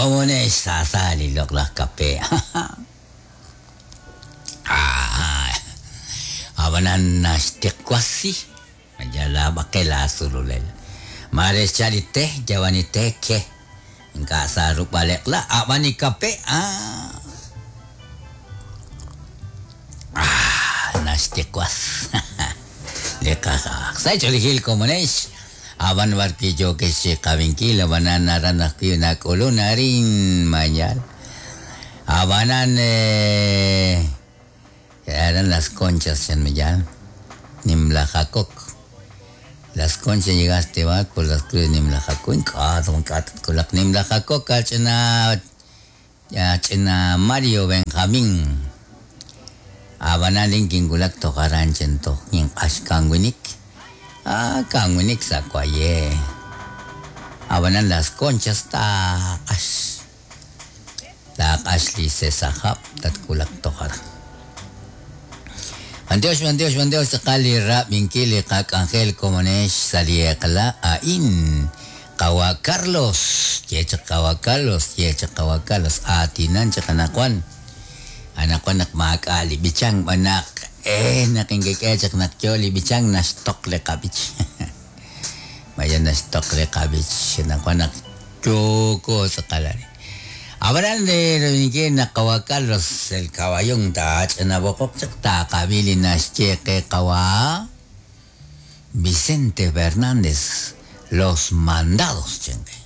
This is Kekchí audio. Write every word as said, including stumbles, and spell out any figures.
Komonex sasali loqlaj kape. Ah, abanan naxtiqwasi mayala baqel asululel. Mare xchali te yawani te ke nka sa rukb'aleqla abani kape ah. Ah, naxtiqwas. Liqaja. Sa' komonex. Aban barquillo que se qabinkil abanan aran nak'ulun arin mayal. Abanan eh, eran las conchas en Millán, Nimlajacok. Las conchas llegaste va por las cruz Nimlajacok, kulak Nimlajacok, achena achena Mario Benjamín. Abanan linkin kulak tojaran chento, ashkanwinik. Ah, kanwinik sakuaye. Abanan las conchas taqash. Taqash li sesajap tatkulak tojaran. Mandios, mandios, mandios, kali rap minkili kak Angel Komonesh saliekla ain Kawa Carlos, yecha Kawa Carlos, yecha Kawa Carlos, atinan chakanakuan. Anakuan nak maakali bichang banak eh nakingkekechak nakyoli bichang nastok le kabich. Maya nastok le kabich anakuan nak choko sa kalari. Abran de Dominique na Kawa Carlos el caballón ta na bokok ta kabili na cheque kawa Vicente Fernández los mandados chengue.